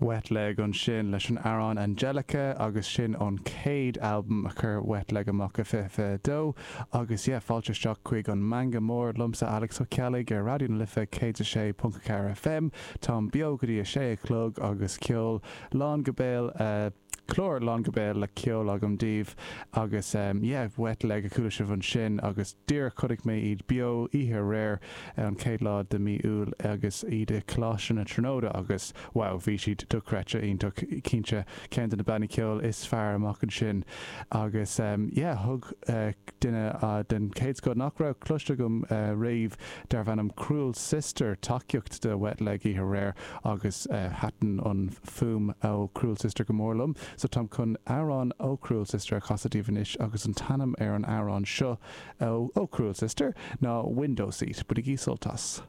Wet Leg ansin leis an amhrán Angelica agus sin ón chéad albam a chuir Wet Leg amach i 2022 agus yeah fáilte isteach chuig an Meangadh Mór liomsa Alex Ó Ceallaigh ar Raidió na Life 106.4 FM. Táim beo go dtí a sé a chlog agus ceol lán go béal clár lán go béal le ceol agam daoibh agus yeah Wet Leg a chuala sibh ansin agus díreach chonaic mé iad beo oíche aréir an chéad lá de mí Iúil agus iad i Coláiste na Tríonóide agus wow bhí siad dochreidte iontach cinnte ceann de na bannaí ceoil is fearr amach ansin agus yeah thug duine den chéad scoth nach raibh cloiste agam riamh darbh ainm Cruel Sister tacaíocht do Wet Leg oíche aréir agus thaitin an fuaim ó Cruel Sister go mór liom so táim chun amhrán ó Cruel Sister a chasadh daoibh anois agus an t-ainm ar an amhrán seo ó Cruel Sister ná Window Seat. Bainigí sult as.